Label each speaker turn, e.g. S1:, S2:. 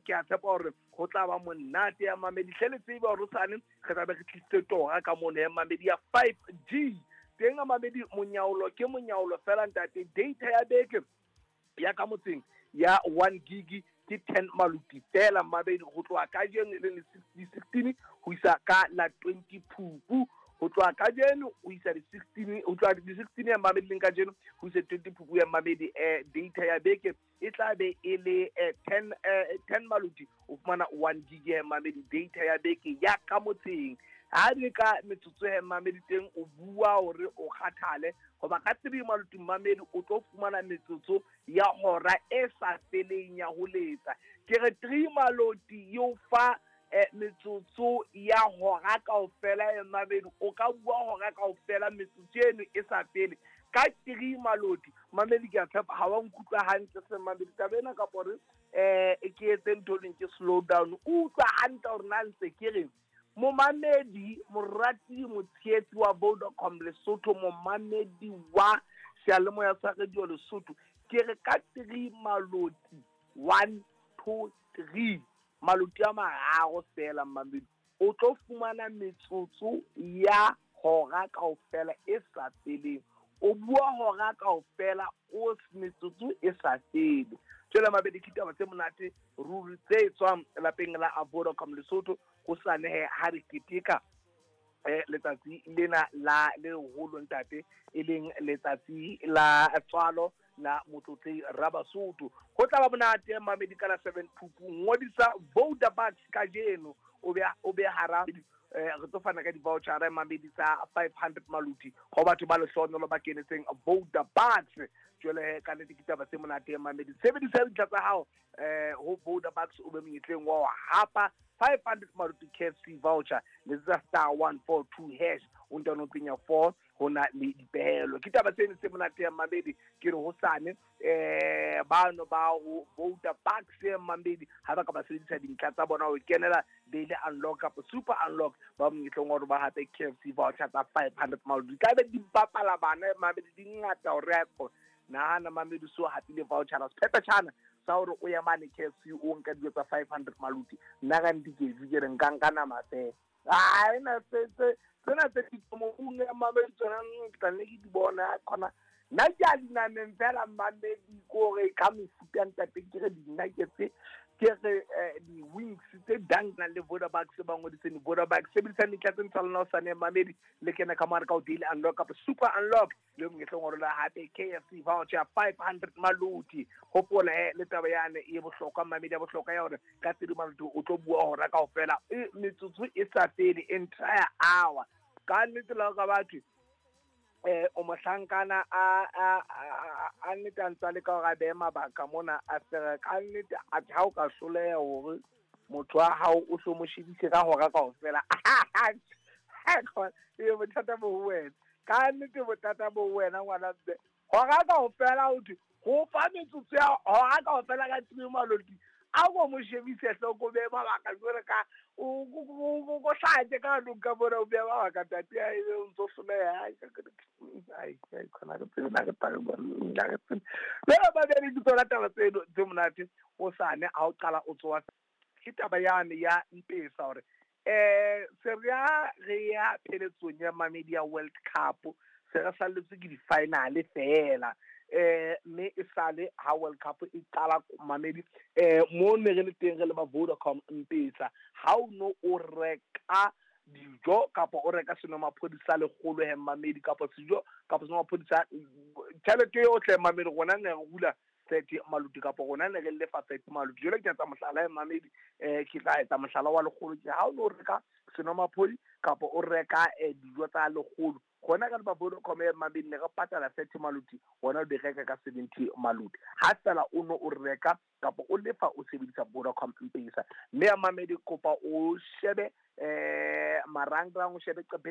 S1: Ke a tshepa hore ho tla ba monate ya mamedi. Hle le tsebe hore hosane re tla be re tlisitse tora ka mono ya mamedi ya 5G. Teng ya mamedi, monyaolo ke monyaolo fela ntate. Data ya beke ya ka motseng ya 1 gig ke 10 maluti fela mabedi, ho tloha kajeno e leng di 16 ho isa ka la 20 Phupu. Ho tloha kajeno ho isa di 16, ho tloha di 16 ya mamedi leng kajeno ho isa 20 Phupu ya mamedi. Data ya beke e tla be e le 10 maluti, o fumana 1 gig ya mamedi, data ya beke ya ka motseng. Ha di ka metsotso ya mamedi teng, o bua hore o kgathale, hoba ka 3 maluti mamedi o tlo fumana metsotso ya hora e sa feleng ya ho letsa. Ke re 3 maloti yo fa metsotso ya hora kaofela ya mamedi, o ka bua hora kaofela metsotso eno e sa fele ka 3 maloti mamedi. Ke a tshepa ha wa nkutlwa hantle se mamedi taba ena, kapa hore ke etse ntho leng ke slow down. O utlwa hantle hore na ntse ke reng. Momamedi, morati, motshehetsi wa Vodacom Lesotho, momamedi wa seyalemoya sa Radio Lesotho, ke re ka 3 maloti, 1 2 3 maloti a mararo fela mamedi, o tlo fumana metsotso ya hora kaofela e sa feleng. O bua hora kaofela o metsotso e sa fele. Jwale mabedi, ke taba tse monate ruri tse tswang lapeng la Vodacom Lesotho. Ho sa nehe ha re keteka letsatsi lena la le leholo ntate, e leng letsatsi la tswalo la Motlotlei Rabasotho. Ho tla ba monate mamedi ka la 7 Phupu. Ngodisa Vodabucks kajeno, o be hara re tlo fana ka di-voucher mamedi tsa 500 maluti ho batho ba lehlohonolo ba kenetseng Vodabucks. Jwale ka nnete ke taba tse monate mamedi. Sebedisa dintlha tsa hao ho Vodabucks, o be monyetleng wa ho hapa 500 maluti KFC voucher. Letsetsa *142#, o ntano penya 4, ho na le dipehelo. Ke taba tseno tse monate ya mamedi. Ke re hosane bano ba ho Vodabucks mamedi, ha ba ka ba sebedisa dintlha tsa bona ho kenela daily unlock kapa super unlock, ba monyetleng wa hore ba hape KFC voucher tsa 500 maluti. Tlabe di bapala bana mamedi, di ngata hore nahana mamedi so hapile voucher sephephetjhana sa hore o ya mane KFC o nka dijo tsa 500 maluti. Nna ka nnete ke re nka nama fela. Ai na tsena tse ditomong ya mamedi tsona ke tla nne ke di bona khona. Nna ke a dinameng fela mamedi, kore ka mefuta ya ntate, ke re di-nuggets, ke re di-wings tse dang na le Vodabucks ba ngodiseng Vodabucks. Sebedisang dintlha tse ntse lona hosane mamedi, le kene ka mare ka ho daily unlock kapa super unlock, le monyetleng wa rona hape KFC voucher 500 maluti. Hopola le taba yane e bohlokwa mamedi, ya bohlokwa ya hore ka 3 maluti o tlo bua hora kaofela, metsotso e sa fele, entire hour. Ka nnete la ka batho o mohlankana a nnete a ntsa le ka hore a behe mabaka mona a fere. Ka nnete a ha o ka hloleha hore motho wa hao o hlo mo shebise ka hora kaofela, e bothata bo ho wena. Ka nnete bothata bo ho wena ngwana mme. Hora kaofela ho thwe ho fa metsotso ya hora kaofela ka 3 maloti, a ko mo shebise hloko, o behe mabaka jwale ka o hlake ka nong ka mona, o behe mabaka ntate, o ntso hloleha. Ai khona re tsebe na re tla na re tsebe. Jwale babedi ke tsona taba tseno tse monate hosane ha o qala o tsoha. Ke taba yane ya mpesa hore se re ya pheletsong ya mamedi ya World Cup, se re salletswe ke di-final fela. Mme e sale ha World Cup e qala mamedi, mo ne re le teng re le ba Vodacom Mpesa, ha o no o reka dijo kapa o reka senomaphodi sa lekgolo he mamedi, kapa sejo kapa senomaphodi sa tjhelete yohle mamedi, rona ne re hula 30 maluti kapa rona ne re lefa 30 maluti. Jwale ke etsa mohlala mamedi, ke tla etsa mohlala wa lekgolo. Ke ha o no reka senomaphodi kapa o reka dijo tsa lekgolo, rona ka ba Vodacom ya mamedi ne re patala 30 maluti, wena o di reka ka 70 maluti. Ha fela o no o reka kapa o lefa o sebedisa Vodacom Mpesa. Mme ya mamedi, kopa o shebe marangrang, o shebe qepheng.